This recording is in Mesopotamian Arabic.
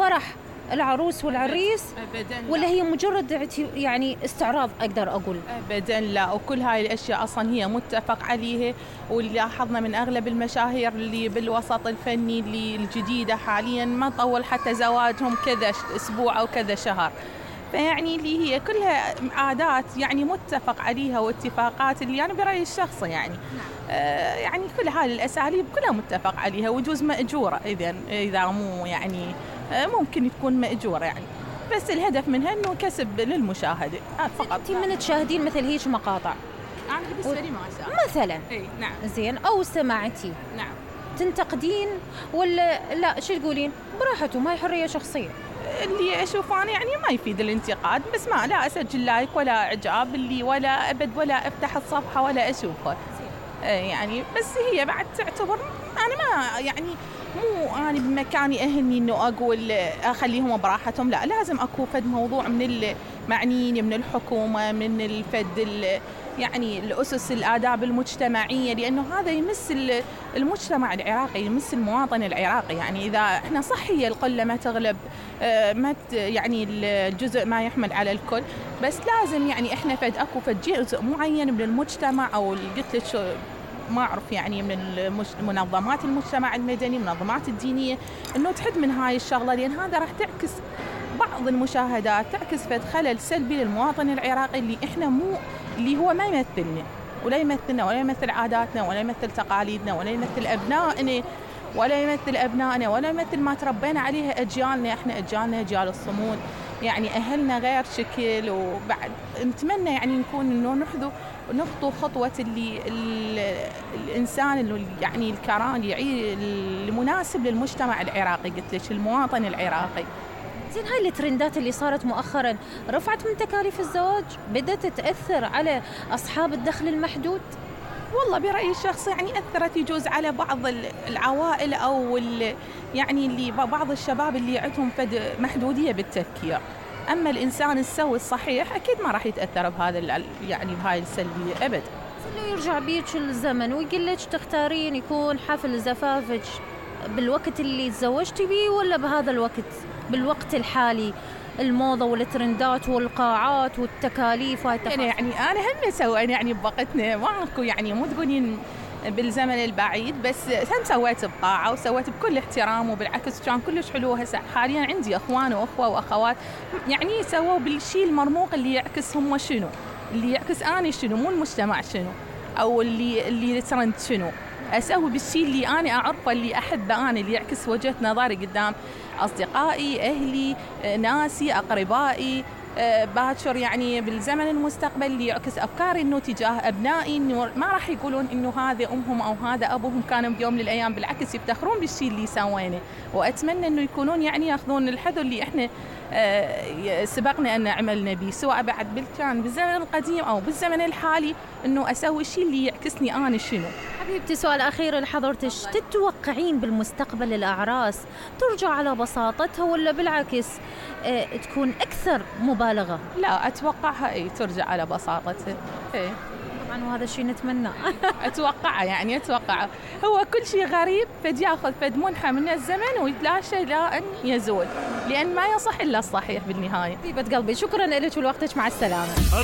فرح العروس والعريس أبداً ولا هي مجرد يعني استعراض أقدر أقول؟ أبداً لا، وكل هاي الأشياء أصلاً هي متفق عليها، واللي لاحظنا من أغلب المشاهير اللي بالوسط الفني اللي الجديدة حالياً ما طول حتى زواجهم كذا أسبوع أو كذا شهر. فيعني اللي هي كلها عادات يعني متفق عليها واتفاقات اللي أنا برأيي الشخصي يعني يعني كل هاي الأساليب كلها متفق عليها، وجوز مأجورة إذا مو يعني ممكن تكون مأجورة يعني، بس الهدف منها إنه كسب للمشاهد فقط. أنت من تشاهدين مثل هيك مقاطع؟ أنا بالنسبة لي ما أشاهد مثلا نعم. زين أو سمعتي نعم. تنتقدين ولا لا شو تقولين؟ براحته، ما هي حرية شخصية. اللي أشوفه أنا يعني ما يفيد الانتقاد، بس ما لا أسجل لايك ولا إعجاب اللي ولا أبد ولا أفتح الصفحة ولا أشوفه يعني. بس هي بعد تعتبر أنا ما يعني مو أنا بمكاني أهلني إنه أقول أخليهم براحتهم، لا لازم أكون فد موضوع من المعنيين من الحكومة من الفد يعني الأسس الآداب المجتمعية، لأنه هذا يمس المجتمع العراقي يمس المواطن العراقي. يعني إذا إحنا صح هي القلة ما تغلب ما يعني الجزء ما يحمل على الكل، بس لازم يعني إحنا أكو فد جزء معين من المجتمع أو قلت لك ما أعرف يعني من منظمات المجتمع المدني منظمات الدينية إنه تحد من هاي الشغلة، لأن هذا راح تعكس بعض المشاهدات تعكس فد خلل سلبي للمواطن العراقي اللي إحنا مو اللي هو ما يمثلنا ولا يمثلنا ولا يمثل عاداتنا ولا يمثل تقاليدنا ولا يمثل أبنائنا ولا يمثل ما تربينا عليها أجيالنا. إحنا أجيالنا أجيال الصمود يعني أهلنا غير شكل، وبعد نتمنى يعني نكون إنه نخطو خطوة الإنسان اللي يعني الكران المناسب للمجتمع العراقي قلت لك المواطن العراقي. زين هاي الترندات اللي صارت مؤخراً رفعت من تكاليف الزواج؟ بدأت تأثر على أصحاب الدخل المحدود؟ والله برأيي الشخصي يعني أثرت يجوز على بعض العوائل أو يعني اللي بعض الشباب اللي عندهم فد محدودية بالتفكير، أما الإنسان السوي الصحيح أكيد ما راح يتأثر بهذا يعني بهاي السلبية أبد. لو يرجع بيك الزمن ويقول لك تختارين يكون حفل زفافك بالوقت اللي تزوجتي بيه ولا بهذا الوقت بالوقت الحالي الموضة والترندات والقاعات والتكاليف يعني أنا هم سوينا يعني بوقتنا ماكو يعني مو تقولين بالزمن البعيد، بس هم سويت بقاعة وسويت بكل احترام وبالعكس كان كلش حلو. هسه حاليا عندي أخوان وأخوة وأخوات يعني سووا بالشيء المرموق اللي يعكس هم شنو اللي يعكس أنا شنو مو المجتمع شنو أو اللي ترند شنو، أسوي بالشيء اللي أنا أعرفه اللي أحبه أنا اللي يعكس وجهة نظري قدام أصدقائي أهلي ناسي أقربائي باكر يعني بالزمن المستقبل اللي يعكس أفكاري إنه تجاه أبنائي إنه ما راح يقولون إنه هذا أمهم أو هذا أبوهم كانوا بيوم من الأيام، بالعكس يفتخرون بالشيء اللي سوينه. وأتمنى إنه يكونون يعني يأخذون الحذر اللي إحنا سبقنا أن عملنا به سواء بعد كان بالزمن القديم أو بالزمن الحالي، إنه أسوي الشيء اللي يعكسني أنا شنو. حبيبتي سؤال أخير لحضرتك، تتوقعين بالمستقبل الأعراس ترجع على بساطتها ولا بالعكس تكون أكثر مبالغة؟ لا أتوقعها ترجع على بساطتها طبعا وهذا الشيء نتمناه. أتوقع هو كل شيء غريب فد ياخذ فد منحى من الزمن ويتلاشى إلى أن يزول، لأن ما يصح إلا الصحيح بالنهاية. طيبة قلبي شكرا لك ولوقتك، مع السلامة.